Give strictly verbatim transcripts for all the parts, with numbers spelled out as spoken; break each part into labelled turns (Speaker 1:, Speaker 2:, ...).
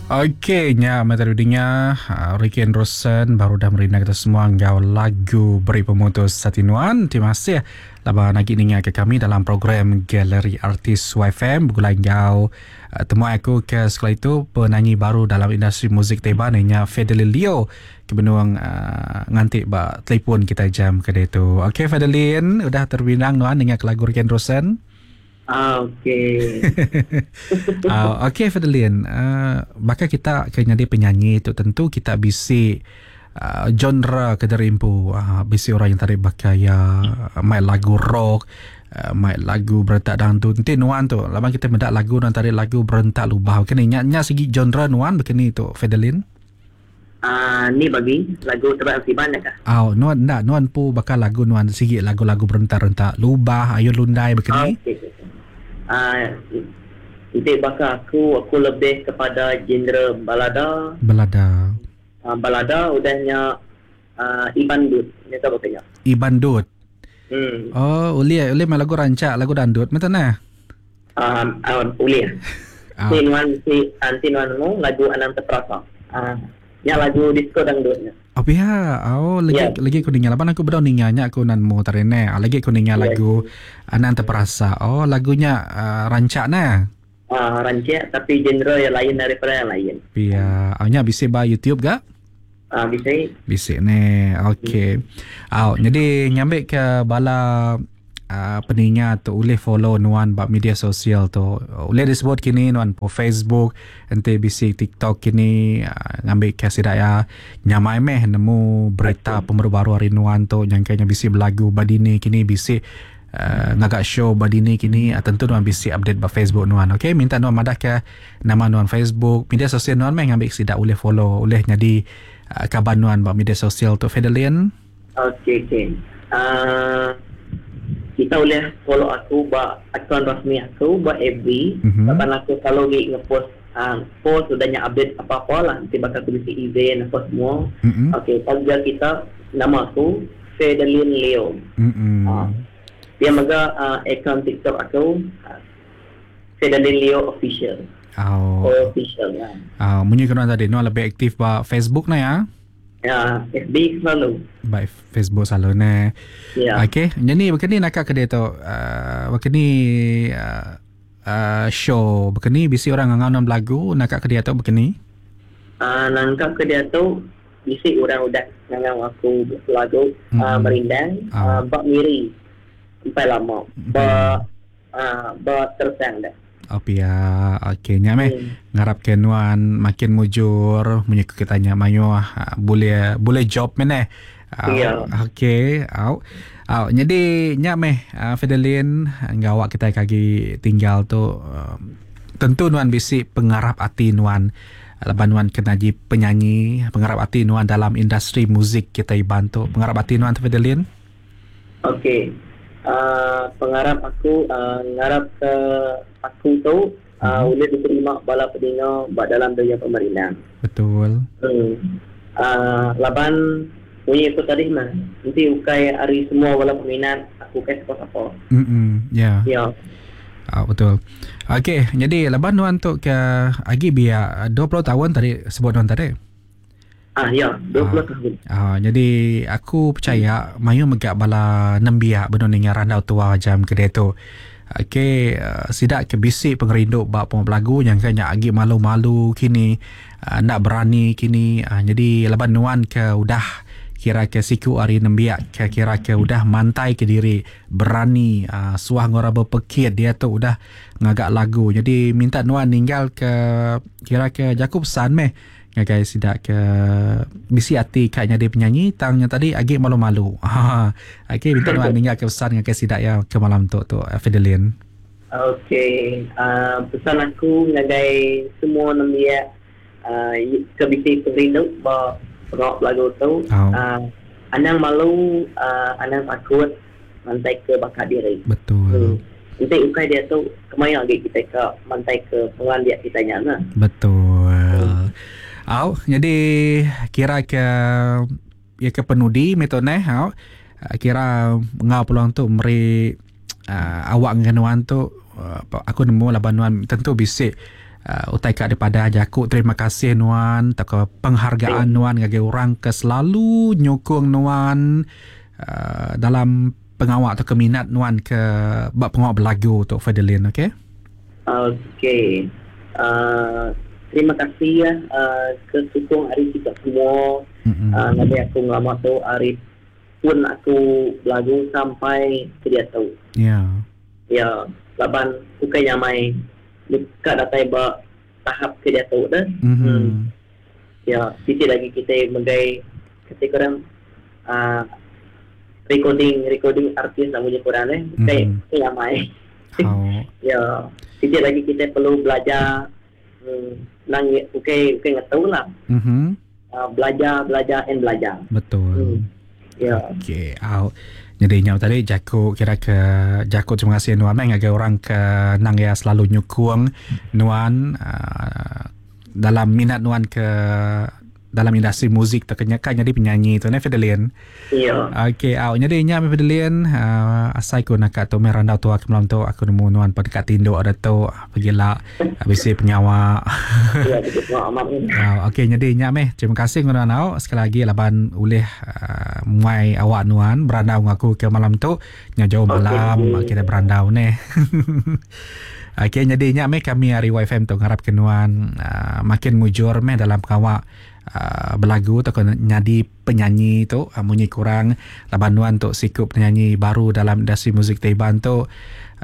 Speaker 1: Okey, nya mata dunia uh, Ricky Anderson baru dah merindang kita semua enggau lagu Beri Pemutus Hati Nuan. Terima kasih laban lagi ninga ke kami dalam program Galeri Artis Y F M begulai enggau uh, temu aku ke sekali itu penyanyi baru dalam industri muzik Taiwan nya Fedelin Leo ke benuang uh, nganti ba telefon kita jam ke tu. Okey Fedelin, udah terbinang nuan ninga ke lagu Ricky Anderson.
Speaker 2: Ah, okey.
Speaker 1: uh, okey Fedelin, uh, bakal kita ke jadi penyanyi tu tentu kita bisi uh, genre ke derimpu, uh, bisi orang yang tarik bakal ya main lagu rock, uh, main lagu berentak dangdut. Nanti nuan tu, laban kita mendak lagu nuan tarik lagu berentak lubah. Okey ni nya, nya segi genre nuan begini tu Fedelin.
Speaker 2: Ah, uh, ni bagi lagu terbaik Siban dah kah?
Speaker 1: Ah, oh, nuan ndak nuan pu bakal lagu nuan sigi lagu-lagu berentak-rentak lubah, ayun lundai begini.
Speaker 2: Okey. Ah, uh, itu bakal aku aku lebih kepada genre balada.
Speaker 1: Balada.
Speaker 2: Uh, balada udahnya uh, Iban Dut. Ni tahu katanya.
Speaker 1: Iban Dut.
Speaker 2: Hmm.
Speaker 1: Oh, uli uli main lagu rancak, lagu dandut macam mana?
Speaker 2: Um, uh, uli.
Speaker 1: Ah.
Speaker 2: Si nuan si anti nuan mu lagu Anang Terperasa. Ah, uh, nya lagu disco dangdutnya.
Speaker 1: Oh ya, oh lagi
Speaker 2: yeah.
Speaker 1: lagi aku dengar laban aku bedau ninganya aku nan mu tarene. Lagi aku dengar
Speaker 2: yeah.
Speaker 1: lagu Anang Terperasa. Oh lagunya uh, rancak nah.
Speaker 2: Ah uh, rancak tapi genre yang lain daripada yang lain.
Speaker 1: Pia, awnya bisa ba YouTube gak?
Speaker 2: Ah uh, bisa.
Speaker 1: Bisa ne. Okey.
Speaker 2: Hmm.
Speaker 1: Aw, jadi nyambik ke bala uh, peningat tu boleh follow nuan ba media sosial tu. Boleh disebut kini nuan po Facebook, ente bisi TikTok kini uh, ngambil ke sidaya nyamai meh nemu berita
Speaker 2: okay.
Speaker 1: Pembaru baru hari nuan tu yang kayaknya bisi belagu badini kini bisi uh, ngagak show badini kini uh, tentu nuan bisi update ba Facebook nuan. Okey, minta nuan madah ke nama nuan Facebook, media sosial nuan meh ngambil sidak boleh follow, boleh jadi uh, kabar nuan ba media sosial tu Fedelin.
Speaker 2: Okey okey. Uh... Kita boleh follow aku ba akaun rasmi aku ba F B.
Speaker 1: Mm-hmm.
Speaker 2: Kapan aku selalu gi ngepost uh, post udahnya update apa-apa lah, nanti bakal aku bisi event apa semua.
Speaker 1: Mm-hmm.
Speaker 2: Okey, tagga kita nama aku Fedelin Leo.
Speaker 1: Mm-hmm.
Speaker 2: Uh, dia mega uh, akaun TikTok aku uh, Fedelin Leo official.
Speaker 1: Oh.
Speaker 2: Official ya.
Speaker 1: Ah, uh, munyi kena tadi no lebih aktif ba Facebook na ya.
Speaker 2: Ya, F B selalu.
Speaker 1: Baik, Facebook selalu ne.
Speaker 2: Ya.
Speaker 1: Okey, jadi begini nak ke dia tu, uh, begini uh, uh, show, begini bisi orang ngangau lagu nak ke dia tu begini.
Speaker 2: Ah, uh, nangkap ke dia tu bisi orang udah ngangau aku lagu
Speaker 1: mm-hmm.
Speaker 2: uh, merindang,
Speaker 1: oh.
Speaker 2: uh, bak miri. Sampai lama. Ba uh, ba tersang dah.
Speaker 1: Oh pia, okey nya meh.
Speaker 2: Hmm.
Speaker 1: Ngarap ke nuan makin mujur, menyuku kitanya mayu boleh boleh job meneh.
Speaker 2: Ya.
Speaker 1: Okey, au. Au, jadi nya meh Fedelin ngawak kita kaki tinggal tu tentu nuan bisi pengarap ati nuan laban nuan kena ji penyanyi, pengarap ati nuan dalam industri muzik kita iban tu. Pengarap ati nuan tu Fedelin?
Speaker 2: Okey. Uh, pengarap aku uh, ngarap ke aku tu uh,
Speaker 1: hmm.
Speaker 2: boleh diterima bala pedinga bak dalam dunia pemerintah.
Speaker 1: Betul.
Speaker 2: Hmm. Uh, laban bunyi aku tadi mah nanti ukai hari semua bala peminat aku kai siapa-siapa.
Speaker 1: Hmm. Ya.
Speaker 2: Yeah.
Speaker 1: Ya. Ah, betul. Okey, jadi laban nuan tu ke agi biar dua puluh tahun tadi sebut nuan tadi.
Speaker 2: Ah ya, dua puluh
Speaker 1: ah,
Speaker 2: tahun.
Speaker 1: Ah, jadi aku percaya mayu megak bala nembiak benar ninga randau tua jam ke dia tu. Okey, uh, sidak ke bisik pengerindu bab pelagu yang kanya agi malu-malu kini, uh, nak berani kini. Uh, jadi laban nuan ke udah kira ke siku hari nembiak ke kira ke udah mantai ke diri berani uh, suah ngora berpekit dia tu udah ngagak lagu. Jadi minta nuan ninggal ke kira ke Jakub pesan meh ngagai sidak ke bisi hati katnya dia penyanyi tangnya tadi agi malu-malu. Ha. Okey, minta nuan ninggal ke pesan ngagai sidak ya ke malam tu tu Fedelin.
Speaker 2: Okey, uh, pesan aku ngagai semua nembiak uh, ke bisi perindu ba pengok lagu tu.
Speaker 1: Oh.
Speaker 2: Uh, anang malu, uh, anang takut mantai ke bakat diri.
Speaker 1: Betul.
Speaker 2: Hmm. Nanti ukai dia tu kemaya lagi kita ke mantai ke pengandiak kita nya nah.
Speaker 1: Betul.
Speaker 2: Hmm.
Speaker 1: Au, jadi kira ke ya ke penudi metode au kira ngau peluang tu meri uh, awak dengan nuan tu uh, aku nemu laban nuan tentu bisik Uh, utai kat daripada jaku terima kasih nuan atau penghargaan yeah. nuan ngagai orang ke selalu nyokong nuan uh, dalam pengawak atau keminat nuan ke bab pengawak berlagu tu Fedelin, okey?
Speaker 2: Okey. Uh, terima kasih ya uh, ke sokong hari kita semua. Mm-hmm. Uh, ngagai aku ngelama tu hari pun aku berlagu sampai ke dia tu.
Speaker 1: Ya. Yeah.
Speaker 2: Ya, yeah. Laban bukan nyamai dekat datai ba tahap ke dia tu dah.
Speaker 1: Mm-hmm.
Speaker 2: Hmm. Ya, sisi lagi kita megai ketika orang uh, recording recording artis nak punya kurang eh, mm-hmm. kayak ramai.
Speaker 1: Oh.
Speaker 2: Ya, sisi lagi kita perlu belajar hmm, nang okey okey ngetahu lah.
Speaker 1: Mm-hmm.
Speaker 2: Uh, belajar belajar and belajar.
Speaker 1: Betul.
Speaker 2: Hmm. Ya.
Speaker 1: Okey, out. Jadi nyau tadi jaku kira ke jaku terima kasih nuan mai ngagai orang ke nang ya selalu nyukung nuan uh, dalam minat nuan ke dalam industri muzik terkenyakan jadi penyanyi tu ne Fedelin.
Speaker 2: Ya.
Speaker 1: Okey, au jadi nya Fedelin uh, asai ku nak tu mai randau tu aku malam tu aku nemu nuan pada kat tinduk ada tu pergilah habis penyawa.
Speaker 2: Ya, betul amat.
Speaker 1: Uh, okey, jadi nya meh terima kasih nuan au sekali lagi laban ulih uh, muai awak nuan berandau aku ke malam tu nya jauh malam okay, kita berandau ne. Okey, jadi nya meh kami hari Y F M tu ngarap ke nuan uh, makin mujur meh dalam kawak Uh, berlagu atau nyadi penyanyi tu uh, munyi kurang laban nuan tu sikup penyanyi baru dalam industri muzik Taiwan tu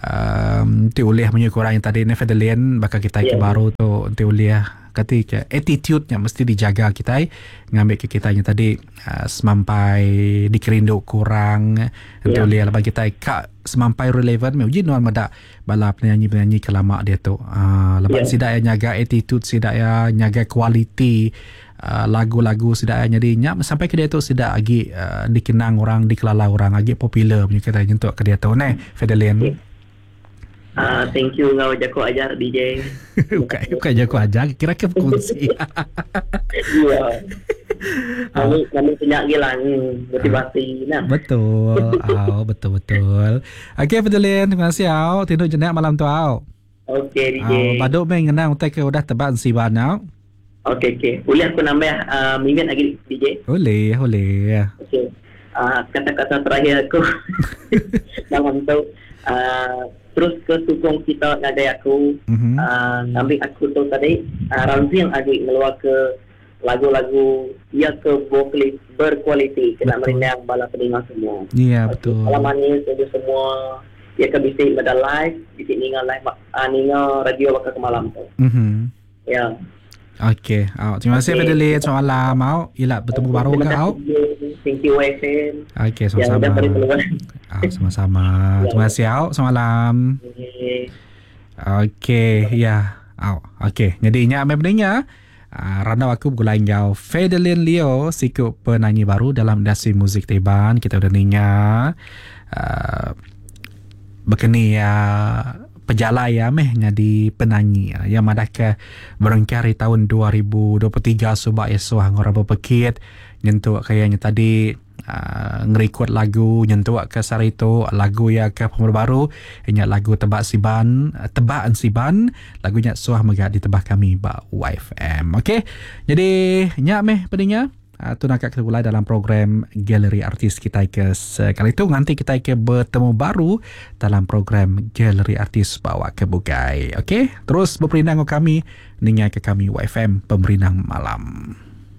Speaker 1: um, ti ulih munyi kurang yang tadi ni Fedelin bakal kita yeah. ke baru tu ti ulih kata attitude-nya mesti dijaga kita ngambil ke kita yang tadi uh, semampai dikerindu kurang yeah. ti ulih laban kita ka semampai relevan uji nuan medak bala penyanyi-penyanyi kelama dia tu uh, laban yeah. sidak ya nyaga attitude sidak ya nyaga kualiti Uh, lagu-lagu sidak jadi nyak sampai ke dia tu sidak lagi uh, dikenang orang dikelala orang lagi popular punya kata nyentuk ke dia tu neh Fedelin.
Speaker 2: Okay. Uh, thank you ngau jago ajar D J.
Speaker 1: Bukan bukan jago ajar kira ke berkongsi.
Speaker 2: Ya. Kami kami punya gila motivasi nah.
Speaker 1: Betul. Au betul betul. Okey Fedelin terima kasih au tidur jenak malam tu au.
Speaker 2: Okey D J.
Speaker 1: Au baduk meh ngenang utai ke udah tebak siban au.
Speaker 2: Okey, okey. Boleh aku nambah uh, minit lagi, D J?
Speaker 1: Boleh, boleh.
Speaker 2: Okey. Uh, kata-kata terakhir aku dalam tu, uh, terus ke sokong kita ngagai aku,
Speaker 1: mm-hmm.
Speaker 2: uh, ngambil aku tu tadi, uh, Ramzi yang lagi ngeluar ke lagu-lagu ya ke vokalis berkualiti kena merindang bala pendengar semua.
Speaker 1: Ya, yeah, betul.
Speaker 2: Malam manis itu semua ya ke bisik pada live, bisik ninga live, uh, ninga radio bakal ke malam tu.
Speaker 1: Mhm.
Speaker 2: Ya.
Speaker 1: Okey, oh, terima kasih okay. Fedelin. Selamat malam. Mau ilak bertemu
Speaker 2: okay,
Speaker 1: baru ke au.
Speaker 2: Thank you Y F M.
Speaker 1: Okey, sama-sama. Oh, sama-sama. Terima kasih au. Selamat malam.
Speaker 2: Okey,
Speaker 1: okay, ya. Au. Okey, jadi nya meh pendengar. Uh, randau aku bergulai ngau Fedelin Leo, sikup penyanyi baru dalam industri muzik Taiwan. Kita udah ninga uh, berkeni ya pejalai ya meh jadi penyanyi ya madah ke berengkari tahun dua ribu dua puluh tiga subak esok ngora berpekit nyentuk kayaknya tadi uh, ngerekod lagu nyentuk ke sarito lagu ya ke pembaru baru nya lagu tebak siban tebak siban lagunya suah megak ditebah kami ba Y F M. Okey, jadi nya meh pendengar Uh, tu nak kita mulai dalam program Galeri Artis kita ke sekali itu nanti kita ke bertemu baru dalam program Galeri Artis bawa ke Bukai. Okey, terus berperindang kami ningai ke kami Y F M Pemerindang Malam.